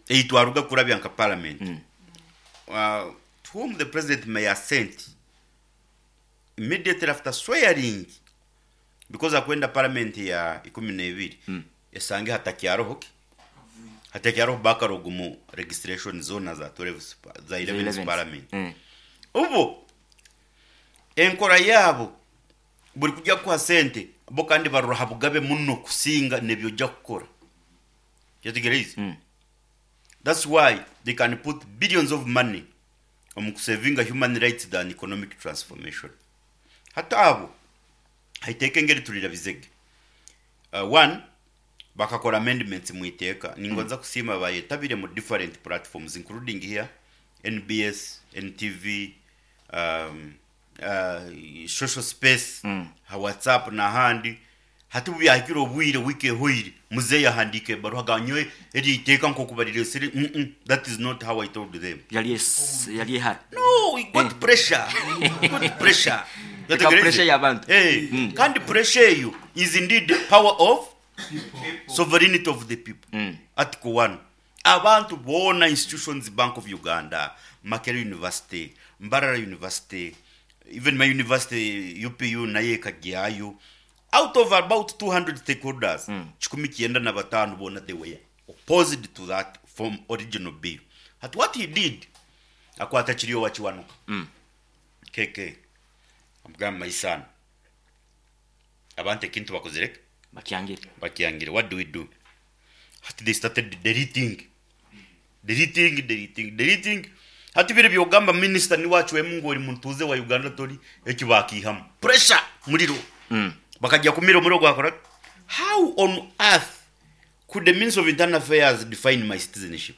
Ei twaruga kurabya nka parliament, to whom the president may assent immediately after swearing because akwenda parliament ya ikumi n'ebiri esange hatakyaroho ki? Hatakyaroho backlog mu registration zoona za 12 za 11th parliament. Obo enkora yaabo buri kugya kukuha sente bo kandi barora ha bugabe muno kusinga n'ebi ojja kukora. Kyetegereize? That's why they can put billions of money omu kusevinga human rights than economic transformation. Hati abo haiteeka engeri turirabizege. One, bakakora amendments mu iteeka. Ningonza kusiima abayetabire mu different platforms including here, NBS, NTV, social space, ha WhatsApp n'ahandi. Hati obu byahikire obwire, wiiki ehoire, muzeeyi ahandiika ebaruha agamba nyowe eryo iteeka nk'oku barireesire, mm that is not how I told them. Yari es- yari ehara. No, we got pressure. We got pressure. Eka Otegereize? pressure y'abantu. Eh, kandi pressure eyo is indeed the power of sovereignty of the people. Article 1. Abantu boona institutions Bank of Uganda, Makerere University, Mbarara University, even my university UPU nayo ekagyayo, out of about 200 stakeholders, kikumi kyenda na bataano boona they were opposed to that form original bill. Hati what he did, akwata Kiryowa Kiwanuka, KK, amugamba my son, abantu ekintu bakozire ki? Bakyangire. Bakyangire, what do we do? Hati they started deleting, deleting, deleting, deleting. Hati biri byogamba minister niwe acwemu ngu ori mutuuze wa Uganda tori, ekyo bakiihamu. Pressure, muriro. Bakagya kumira omuriro gwakora ki? How on earth could the Minister of Internal Affairs define my citizenship?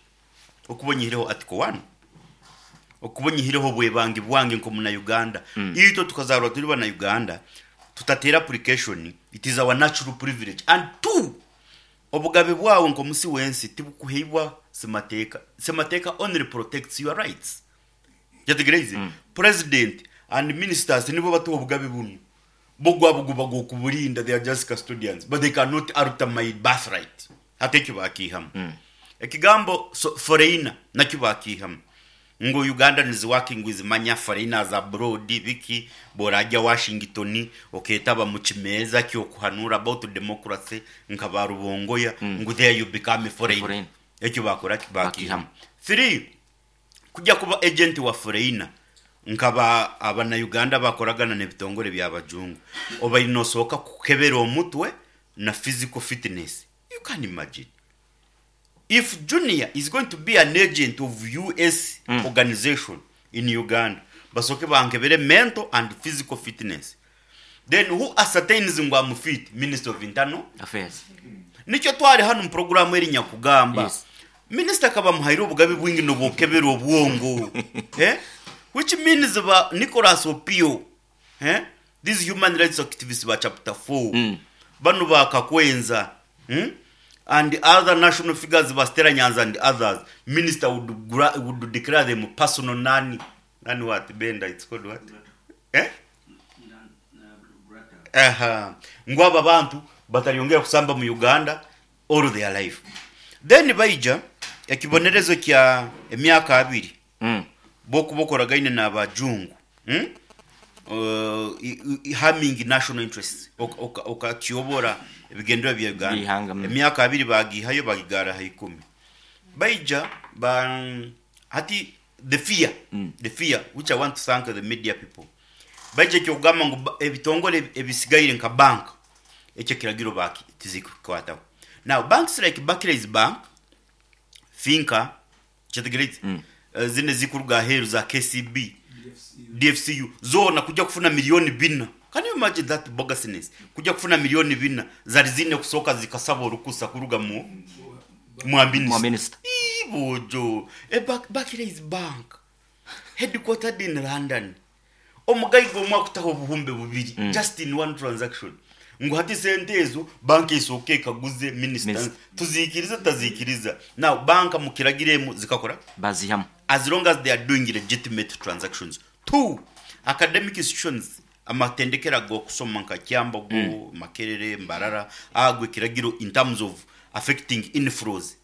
Okuba onyihireho Article one, okuba onyihireho obwebangi bwange nk'omuna Uganda. Itwe tukazaarwa turi bana Uganda, tutateire application, it is our natural privilege. And two, Obugabe bwawe nk'omusi w'ensi tibukuhaibwa Ssemateeka. Ssemateeka only protects your rights. Kyetegereize? President and ministers nibo batuha obugabe bunu. Bo gwabo guba gw'okuburinda, they are just custodians but they cannot alter my birthright. Hati ekyo bakiihamu. Ekigambo so foreigner nakyo bakiihamu. Ngu Ugandans working with manya foreigners abroad biki, bworagya Washington oketaba mu kimeeza kyokuhanuura about democracy nka ba Rubongoya ngu there you become a foreigner. Foreigner. Ekyo bakora ki? Bakiihamu. Bakiihamu. Three, kugya kuba agent wa foreigner nka ba abana Uganda abakoragana nebitongore bya bajungu obaire nosooka kukebera omutwe na physical fitness. You can imagine. If Junior is going to be an agent of US organization in Uganda, basooke bankebere mental and physical fitness. Then who ascertains ngu am fit? Minister of Internal Affairs. Nikyo twari hanu mu puroguraamu eri nyakugamba. Yes. Minisita akaba amuhaire obugabe bwingi n'obwokebera obwongo. Eh? Which means ba Nicholas Opio, eh? These human rights activists ba chapter 4, banu ba Kakwenza, hmm? And other national figures ba Stella Nyanzi and others, minister would, gra, would declare them personal nani, nani what, Benda, it's called what? Eh? Aha. Ngu abo abantu bataryongera kusamba mu Uganda all their life. Then baija ekibonerezo kya emyaka abiri bwokuba okoragaine n'abajungu hmm? Harming national interests, okatyobora ebigendererwa bya Uganda. By'eihanga, mm. Emyaka abiri bagiihayo bagigaara ha ikumi. Baija ba hati the fear, the fear which I want to thank the media people. Baija eky'okugamba ngu ebitongore ebisigaire nka bank ekyo ekiragiro baki tizikukwataho. Now banks like Barclays Bank, Finca, Kyetegereize? Zinu ezikuruga aheeru za KCB, DFCU, zoona kuja kufuna milioni bina. Can you imagine that bogusness? Kuja kufuna milioni bina, zari ziine kusooka zikasaba orukusa kuruga mu mwa Mwa minisita. minisita. Ii boojo! E Barclays Bank, headquartered in London, Omugaiga omwe akutaho obuhumbi bubiri just in one transaction ngu hati sente ezo banka esooke ekaguze minisita Minisita. tuziikirize tutaziikiriza. Now banka mu kiragiro emu zikakora ki? Bazihamu. As long as they are doing legitimate transactions. Two, academic institutions amatendekero ag'okusoma nka Kyambogo, Makerere, Mbarara ago ekiragiro in terms of affecting inflows.